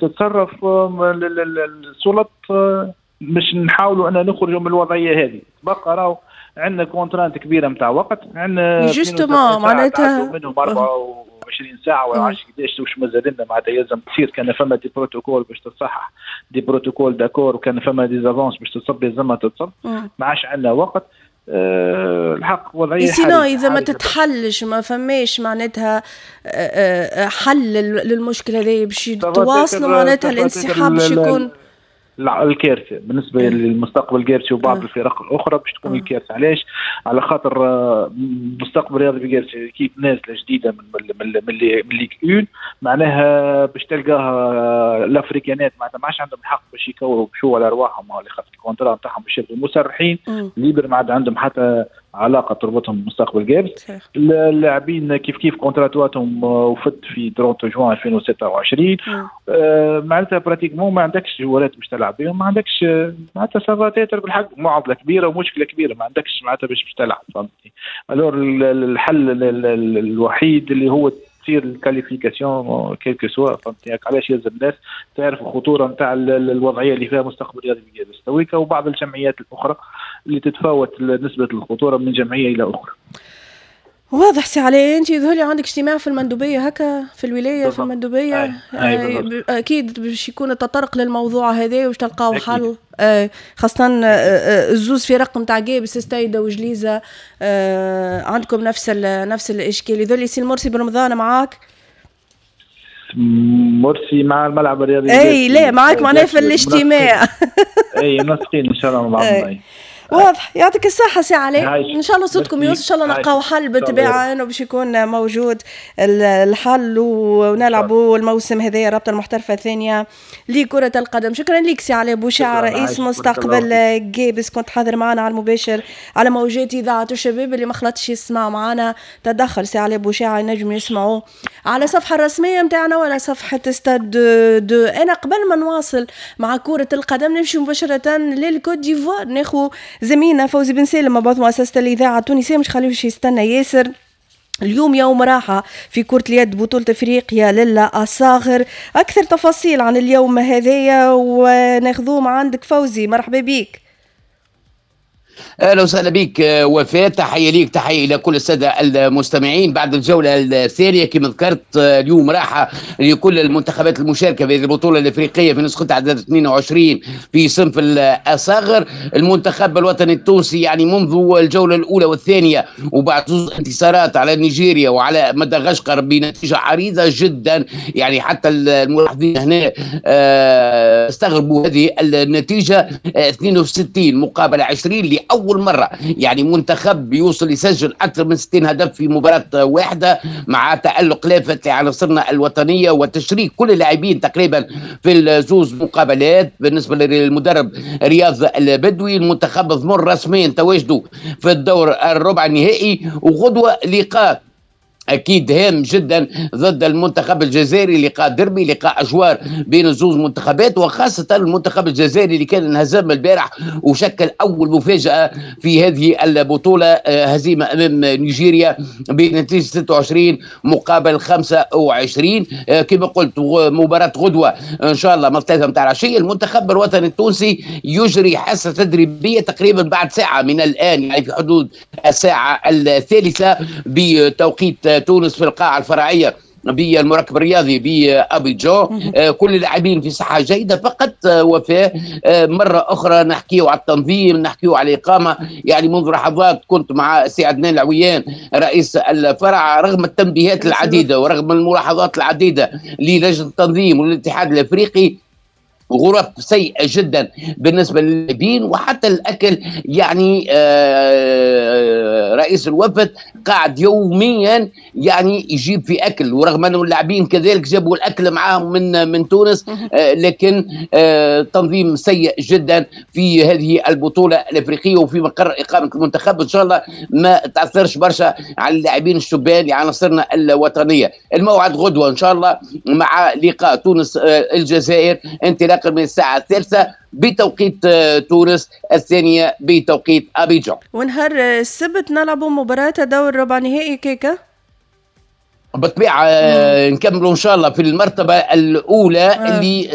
تتصرف السلط باش نحاولوا ان نخرجوا من الوضعية هذه. بقى راهو عندنا contrainte كبيرة نتاع وقت، عندنا justement معناتها منهم 24 ساعة ولا 10 قداش واش مازال لنا، معناتها يلزم تصير كان فما des protocoles باش تصحح des protocoles d'accord، وكان فما des avances باش تصب يلزمها تتصب، ما عادش عندنا وقت. الحق وضعية sinon اذا ما تتحلش ما فماش معناتها حل للمشكلة هذه باش تواصلوا معناتها الانسحاب باش يكون الكارثة بالنسبة للمستقبل القابسي وبعض الفرق الاخرى باش تكون الكارثة. علاش؟ على خاطر مستقبل رياضي بقابس équipe نازله جديدة من Ligue 1، معناها باش تلقاها الافريكانات معناتها ما عادش عندهم الحق باش يكوروا بشو على ارواحهم، على خاطر ال contrat نتاعهم باش يبقوا مسرحين libres، ما عاد عندهم حتى علاقة تربطهم بمستقبل قابس. اللاعبين كيف كيف contrat واتهم وفت في 30 جوان 2026، معناتها pratiquement ما عندكش جوارات باش تلعب بهم، ما عندكش معناتها ça va être بالحق معضلة كبيرة ومشكلة كبيره، ما عندكش معناتها باش تلعب، فهمتني؟ alors الحل الوحيد اللي هو تصير ال qualification quel que soit، فهمتني؟ علاش يلزم الناس تعرف الخطورة نتاع الوضعية اللي فيها مستقبل رياضي بقابس تويكا وبعض الجمعيات الاخرى اللي تتفاوت نسبه الخطورة من جمعية الى اخرى. واضح سي علي، انت يظهر لي عندك اجتماع في المندوبيه هكا في الولاية في المندوبيه. أي. اكيد باش يكون التطرق للموضوع هذا وباش تلقاو حل، خاصة الزوز فرق نتاع قابس ستايدا وجليزه عندكم نفس الاشكال. يظهر لي سي المرسي برمضان معاك. مرسي مع الملعب الرياضي. اي لا معاك معناها في الاجتماع. اي منسقين ان شاء الله مع بعض. واضح، يعطيك الصحة سي علي، إن شاء الله صوتكم يوصل، إن شاء الله نلقاو حل بالطبيعة إنه باش يكون موجود الحل ونلعبوا الموسم هذايا الرابطة المحترفة الثانية لكرة القدم. شكرا لك سي علي بوشعة رئيس مستقبل قابس، كنت حاضر معنا على المباشر على موجات إذاعة الشباب. اللي ما خلطش يسمع معنا تدخل سي علي بوشعة ينجم يسمعوه على الصفحة الرسمية نتاعنا ولا صفحة ستاد دو. أنا قبل ما نواصل مع كرة القدم نمشي مباشرة للكوت ديفوار، ناخو زميلنا فوزي بن سالم مبعوث مؤسسة الإذاعة التونسية، مش خليوش يستنى ياسر. اليوم يوم راحة في كرة اليد بطولة افريقيا للأصاغر، أكثر تفاصيل عن اليوم هذايا وناخذوه مع عندك فوزي، مرحبا بك. اهلا وسهلا بك وفاء، تحية ليك، تحية الى كل السادة المستمعين. بعد الجولة الثانية كما ذكرت اليوم راحة لكل المنتخبات المشاركة في هذه البطولة الافريقية في نسختها عدد 22 في صنف الاصاغر. المنتخب الوطني التونسي يعني منذ الجولة الاولى والثانية وبعد زوج انتصارات على نيجيريا وعلى مدغشقر بنتيجة عريضة جدا، يعني حتى الملاحظين هنا استغربوا هذه النتيجة 62 مقابل 20 لأول مرة يعني منتخب يوصل يسجل أكثر من 60 هدف في مباراة واحدة، مع تألق لافت لعناصرنا الوطنية وتشريك كل اللاعبين تقريبا في الزوز مقابلات. بالنسبة للمدرب رياض البدوي، المنتخب ضمن رسميا تواجده في الدور الربع النهائي، وغدوة لقاء اكيد هام جدا ضد المنتخب الجزائري، لقاء دربي، لقاء اجوار بين الزوز منتخبات، وخاصة المنتخب الجزائري اللي كان انهزم البارح وشكل اول مفاجاة في هذه البطولة، هزيمة امام نيجيريا بنتيجة 26 مقابل 25. كما قلت مباراة غدوه ان شاء الله من 3 متاع العشية. المنتخب الوطني التونسي يجري حصة تدريبية تقريبا بعد ساعة من الان، يعني في حدود الساعة 3 بتوقيت تونس في القاعة الفرعية بالمركب الرياضي بأبيجان. كل اللاعبين في صحة جيدة فقط. وفاء مرة أخرى نحكيه على التنظيم، نحكيه على الإقامة، يعني منذ لحظات كنت مع سي عدنان العويان رئيس الفرع، رغم التنبيهات العديدة ورغم الملاحظات العديدة للجنة التنظيم والاتحاد الأفريقي، غرف سيئة جدا بالنسبة للاعبين وحتى الأكل. يعني رئيس الوفد قاعد يوميا يعني يجيب في أكل، ورغم أنه اللاعبين كذلك جابوا الأكل معاهم من تونس، لكن تنظيم سيء جدا في هذه البطولة الأفريقية وفي مقر إقامة المنتخب. إن شاء الله ما تأثرش برشا على اللاعبين الشبان لعناصرنا الوطنية. الموعد غدوة إن شاء الله مع لقاء تونس الجزائر، انطلاقا من الساعة 3 بتوقيت تونس، 2 بتوقيت أبيجان. ونهار السبت نلعبوا مباراة دور ربع نهائي كيكا. بالطبيعة نكملوا ان شاء الله في المرتبة الاولى اللي